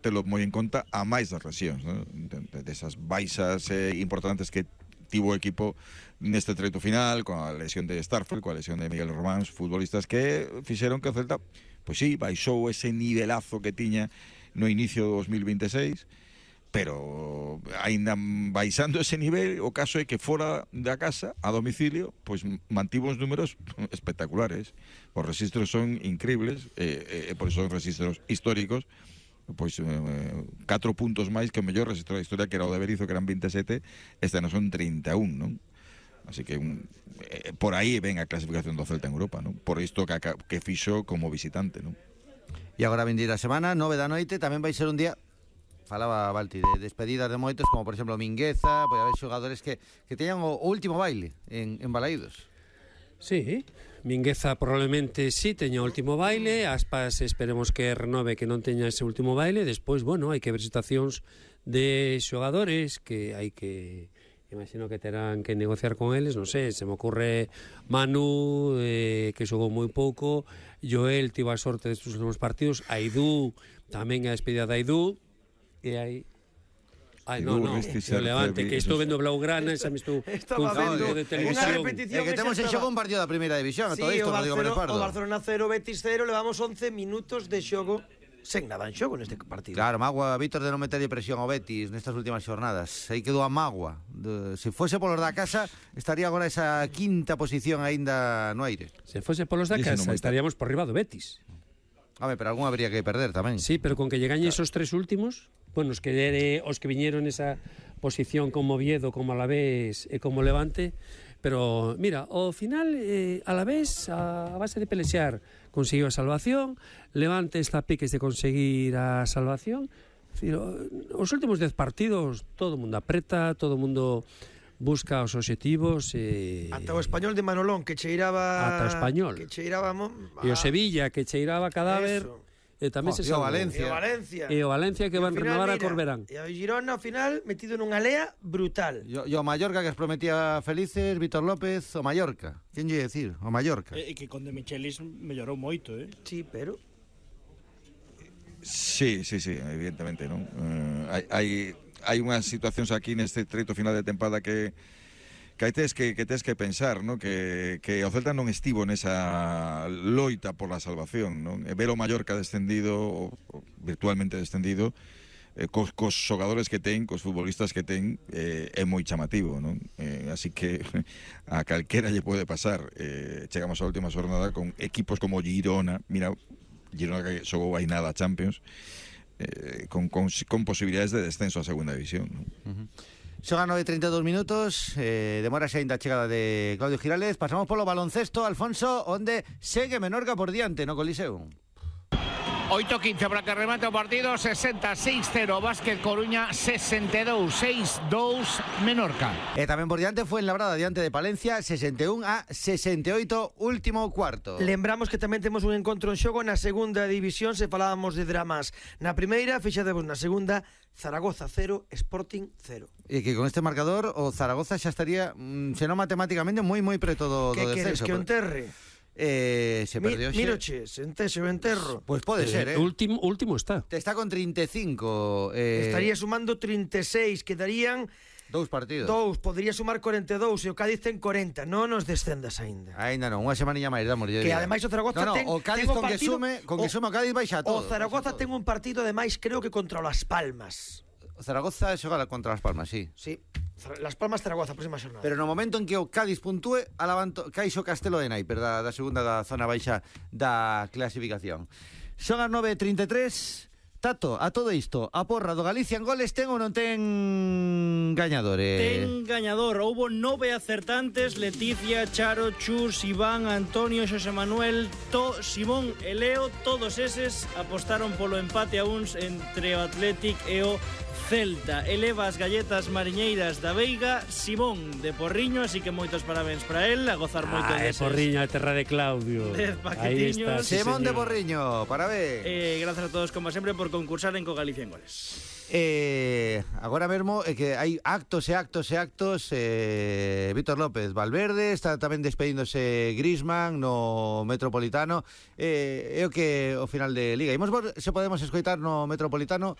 telo moi en conta a máis das lesións, non? Desas baixas importantes que tivo o equipo neste treito final, con a lesión de Starfelt, coa lesión de Miguel Román, futbolistas que fixeron que o Celta, pois sí, baixou ese nivelazo que tiña no inicio do 2026, pero aínda baixando ese nivel, o caso é que fora da casa, a domicilio, pois mantivo uns números espectaculares. Os registros son increíbles, por iso son registros históricos. Pois 4 puntos máis que o mellor registro da historia, que era o de Berizzo, que eran 27, este non son 31, non? Así que por aí ven a clasificación do Celta en Europa, non? Por isto que fixo como visitante, non? E agora vindeira semana, 9 da noite, tamén vai ser un día, falaba Balti, de despedidas de moitos, como por exemplo Mingueza, pode haber xogadores que teñan o último baile en Balaídos. Sí, Mingueza probablemente sí teña o último baile, Aspas esperemos que renove, que non teña ese último baile. Despois, bueno, hai que ver situacións de xogadores que hai que, imagino que terán que negociar con eles, non sei, se me ocurre Manu, que xogou moi pouco, Joel tivo a sorte destes últimos partidos, Aidú, tamén a despedida de Aidú, e hai... Ai, no, o Levante, que estou vendo Blaugrana, esa me estou confundindo de televisión. É que temos en xogo un partido da primeira división, sí, todo isto, Rodrigo Pérez Pardo. O Barcelona 0, Betis 0, levamos 11 minutos de xogo sen nada en xogo neste partido. Claro, mágoa, Víctor, de non meterlle presión ao Betis nestas últimas xornadas. Aí quedou a mágoa. Se fose polos da casa, estaría agora esa quinta posición aínda no aire. Se fose polos da casa, estaríamos por riba do Betis. Home, pero algún habría que perder tamén. Sí, pero con que llegañe esos tres últimos, bueno, os que viñeron esa posición como Oviedo, como Alavés e como Levante, pero mira, ao final Alavés a base de pelexear conseguiu a salvación, Levante está a piques de conseguir a salvación. Os últimos 10 partidos todo o mundo apreta, todo o mundo busca os obxectivos. Ata o Español de Manolón, que cheiraba... Ata o Español. Que cheiraba... E o Sevilla, que cheiraba cadáver. E tamén se salvou. E o Valencia que van renovar a Corberán. E o Girona, ao final, metido nunha lea brutal. E o Mallorca, que os prometía felices, Víctor López, o Mallorca. Quen lle decir? O Mallorca. E que con De Michelis mellorou moito, Sí, pero... Sí, evidentemente, non? Hai unhas situacións aquí neste treito final de tempada que tes que pensar, non? Que o Celta non estivo nesa loita por la salvación, non? Ver o Mallorca descendido, o virtualmente descendido, cos xogadores que ten, cos futbolistas que ten, é moi chamativo, non? Así que a calquera lle pode pasar. Chegamos á última xornada con equipos como Girona, mira, Girona que xogou aí nada a Champions, con posibilidades de descenso a segunda división, non? Xogan 9:32 minutos, demora xa ainda a chegada de Claudio Giraldez. Pasamos polo baloncesto, Alfonso, onde segue Menorca por diante no Coliseo. 8:15 para que remate o partido, 66-0 Básquet Coruña, 62-6-2 Menorca. E tamén por diante foi en Labrada, diante de Palencia, 61-68, último cuarto. Lembramos que tamén temos un encontro en xogo na segunda división, se falábamos de dramas na primeira, fixademos na segunda, Zaragoza 0, Sporting 0. E que con este marcador o Zaragoza xa estaría, senón matemáticamente, moi preto do descenso. Que queres que o enterre? Se perdió Miroche, se o enterro. Pues puede ser, último está. Está con 35. Estaría sumando 36, quedarían 2 partidos. Podría sumar 42 e o Cádiz ten 40. Non nos descendas aínda. Aínda non, unha semaniña máis, damos. Que ademais o Zaragoza ten o Cádiz con que sume o Cádiz baixa todo. O Zaragoza ten un partido ademais creo que contra Las Palmas. O Zaragoza xoga contra Las Palmas, sí. Sí. Las Palmas Zaragoza, próxima xornada. Pero no momento en que o Cádiz puntúe, caixo Castelo de Naiper da segunda da zona baixa da clasificación. Son as 9:33. Tato, a todo isto, a porra do Galicia en goles ten ou non ten gañadores? Ten gañador, houbo 9 acertantes, Leticia, Charo, Chus, Iván, Antonio, Xosé Manuel, Simón e Leo, todos eses apostaron polo empate a uns entre o Athletic e o Celta. Eleva as galletas mariñeiras da Veiga, Simón de Porriño, así que moitos parabéns para él, a gozar moito deses. Porriño, a terra de Claudio. Aí está, Simón de Porriño, parabéns. Gracias a todos, como sempre, por concursar en Co Galicia en Goles. Agora mesmo é que hai actos e actos e actos. Víctor López Valverde está tamén despedíndose Griezmann no Metropolitano. É o que o final de Liga. Imos ver se podemos escoitar no Metropolitano